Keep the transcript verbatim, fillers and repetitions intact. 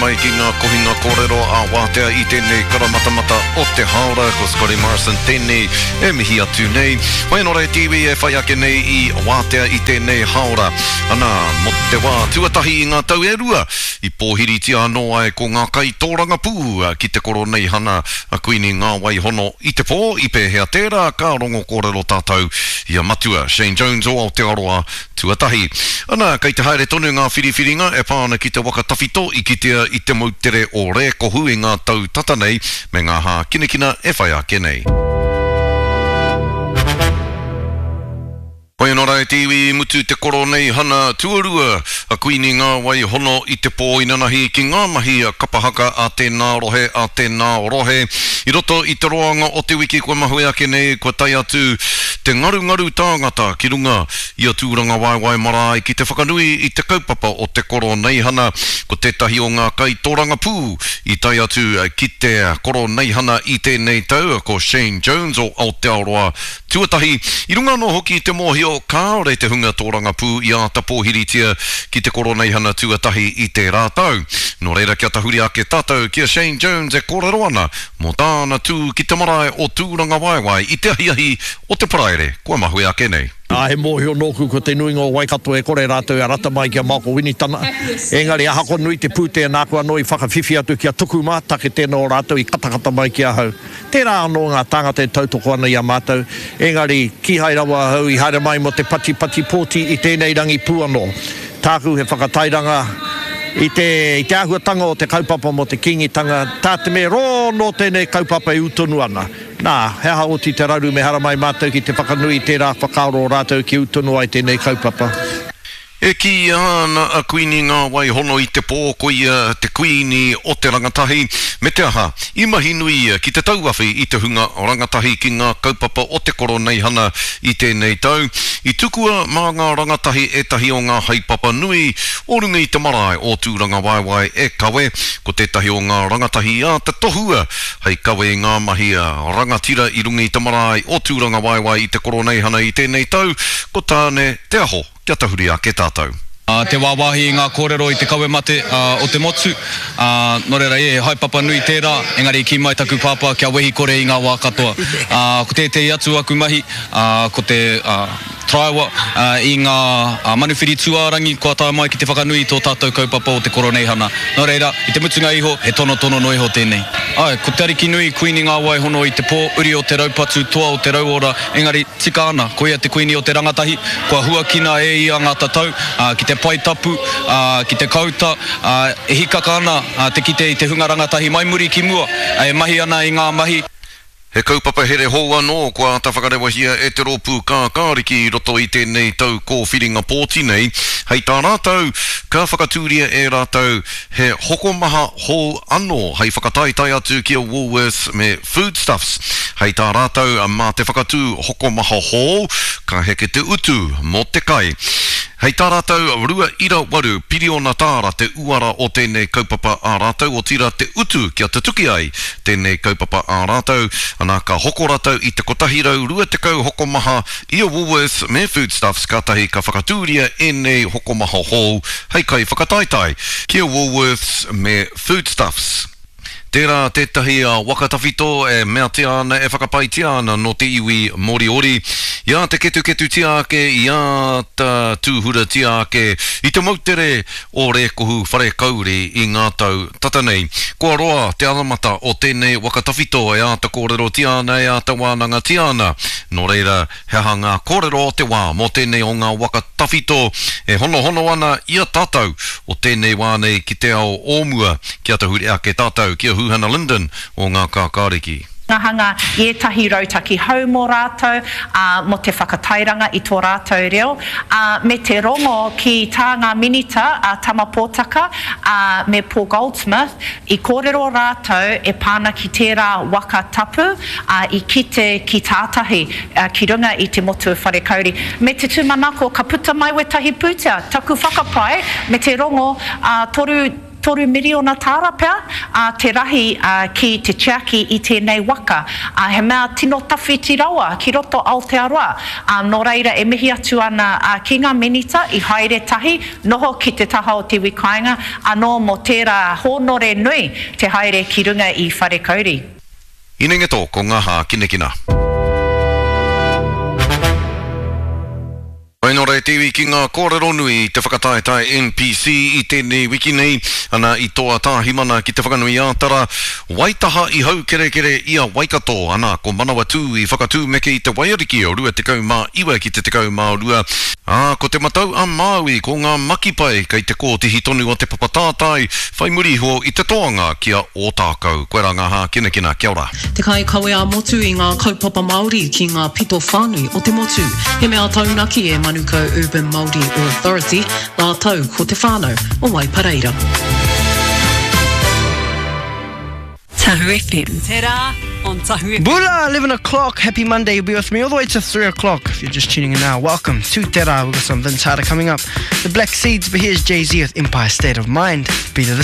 mai ki ngā kohinga kōrero a Wātea i tēnei karamatamata o te hāora. Ko Scotty Morrison tēnei e mihi atu nei. Whai anō rā te iwi e whai ake nei i Wātea i tēnei hāora. Anā, mō te wā tuatahi i ngā tau e rua, i pōhiritia anō ai ko ngā kaitōrangapū ki te Koroneihana a Kuini Ngāwai Hono i te pō, i pēhea tērā ka rongo kōrero tātou i a Matua Shane Jones o Aotearoa tuatahi. Ana, kei te haere tonu ngā whiriwhiringa e pā ana ki te waka tawhito i kitea i te moutere o Rēkohu i ngā tau tata nei me ngā hākinakina e whai ake nei. Hoi anō rā e te iwi i mutu te Koroneihana tuarua a Kuini Ngāwai Hono i te pō inanahi ki ngā mahi kapa haka a tēnā rohe, a tēnā rohe. I roto i te roanga o te wiki kua mahue ake nei kua tae atu te ngarungaru tāngata ki runga i a Tūrangawaewae marae ki te whakanui i te kaupapa o te Koroneihana. Ko tētahi o ngā kaitōrangapū i tae atu ki te Koroneihana i tēnei tau ko Shane Jones o Aotearoa tuatahi. I runga anō hoki i te mōhio kāore te hunga tōrangapū i āta pōhiritia ki te Koroneihana tuatahi i tērā tau. Nō reira kia tahuri ake tātou ki a Shane Jones e kōrero ana mō tāna tū ki te marae o Tūrangawaewae i te ahiahi o te Paraire kua mahue ake nei. Ā, he mōhio nōku ko te nuinga o Waikato e kore rātou e rata mai ki a Malcolm Winitana. Engari ahakoa nui te pūtea nāku anō i whakawhiwhi atu ki a Tukuma, take tēnā o rātou i katakata mai ki ahau. Tērā anō ngā tāngata e tautoko ana i a mātou, engari kīhai rawa ahau i haere mai mō te patipati pōti i tēnei rangi pū anō. Tāku he whakatairanga i te, i te āhuatanga o te kaupapa mō te Kīngitanga, tā te mea rō nō tēnei kaupapa e ū tonu ana. Nā, he aha oti te raru me haramai mātou ki te whakanui i tērā whakaaro o rātou kia ū tonu ai tēnei kaupapa. E kīia ana a Kuini Ngāwai Hono i te pō ko ia te kuīni o te rangatahi, me te aha, i mahi nui ia ki te tauawhi i te hunga rangatahi ki ngā kaupapa o te Koroneihana i tēnei tau. I tukua mā ngā rangatahi ētahi o ngā haepapa nui o runga i te marae o Tūrangawaewae e kawe, ko tētahi o ngā rangatahi i āta tohua hei kawe i ngā mahi rangatira i runga i te marae o Tūrangawaewae i te Koroneihana i tēnei tau, ko Tāne Te Aho. Kia tahuri ake tātou. Te wāwāhi i ngā kōrero i te kawe mate o te motu. Nō reira, he haepapa nui tērā, engari i kī mai taku pāpā kia wehi kore i ngā wā katoa. Ko tētehi atu aku mahi, ko te taraiwa i ngā manuwhiri tūārangi kua tae mai ki te whakanui i tō tātou kaupapa o te Koroneihana. Nō reira, i te mutunga iho, he tonotono noa iho tēnei. Āe, ko Te Arikinui, Kuini Ngā Waihono i te pō, uri o te raupatu, toa o te rauora, engari, tika ana, ko ia te kuini o te rangatahi, kua huakina e ia ngā tatau, ki te pae tapu, ki te kauta, e hikaka ana te kite i te hunga rangatahi mai muri ki mua, e mahi ana i ngā mahi. He kaupapa here hou anō kua āta whakarewahia e te rōpū Kākāriki i roto i tēnei tau kōwhiringa pōti nei. Hei tā rātou, ka whakatūria e rātou he hokomaha hou anō hei whakataetae atu ki a Woolworths me Foodstuffs. Hei tā rātou, mā te whakatū hokomaha hou, ka heke te utu mō te kai. Hei tā rātou, rua ira waru piriona tāra te uara o tēnei kaupapa ā rātou, otirā te utu kia tutuki ai tēnei kaupapa ā rātou, ana ka hoko rātou i te kotahi rau rua tekau hokomaha i a Woolworths me Foodstuffs kātahi ka whakatūria ēnei hokomaha hou hei kaiwhakataetae ki a Woolworths me Foodstuffs. Tērā tētahi waka tawhito e meatia ana, e whakapaetia ana nō te iwi Moriori. I āta ketuketutia ake, i āta tūhuratia ake i te moutere o Rēkohu Wharekauri i ngā tau tata nei. Kua roa te anamata o tēnei waka tawhito e āta kōrerotia ana, e āta wānangatia ana. Nō reira, He aha ngā kōrero o te wā mō tēnei o ngā waka tawhito e honohono ana i a tātou o tēnei wā nei ki te ao o mua? Kia tahuri ake tātou ki a Huhana Lyndon o Ngā Kākāriki. Hanga i ētahi rautaki hou mō rātou, ā, mō te whakatairanga i tō rātou reo, ā, me te rongo ki tā ngā Minita, a Tama Potaka, ā, me Paul Goldsmith, i kōrero rātou e pā ana ki tērā waka tapu, ā, i kite ki tātahi, ki runga i te motu o Wharekauri, me te tūmanako ka puta mai wētahi pūtea, taku whakapae me te rongo, ā, toru Toru miriona tāra pea te rahi ki te tiaki i tēnei waka. He mea tino tawhiti rawa ki roto Aotearoa. Nō reira e mihi atu ana ki ngā Minita i haere tahi, noho ki te taha o te iwi kāinga anō mō tērā hōnore nui te haere ki runga i Wharekauri. Hinengeto ko ngā hākinakina. Whainora e te iwi ki ngā kōrero nui i te whakataetae N P C i tēnei wiki nei, ana i toa Tāhimana ki Te Whanganui-ā-Tara, Waitaha i haukerekere i a Waikato, ana ko Manawatū i whakatūmeke i te Waiariki o rua tekau mā iwa ki te tekau mā rua, ā, ko Te Matau a Māui ko ngā makipai kei te kōtihi tonu o te papa tātai, whai muri iho i te toanga ki a Ōtākou. Koirā ngā hākinakina, kia ora. Te kaikawe ā-motu i ngā kaupapa Māori ki ngā pito whānui o te motu. He mea taunaki e Manukau Urban Māori Authority, rātou ko te whānau o Waipareira. Tahu F M. Te rā on Tahu F M. Bula, eleven o'clock. Happy Monday. You'll be with me all the way to three o'clock. If you're just tuning in now, welcome to Te Rā. We've got some Vince Harder coming up. The Black Seeds, but here's Jay-Z with Empire State of Mind. Be to the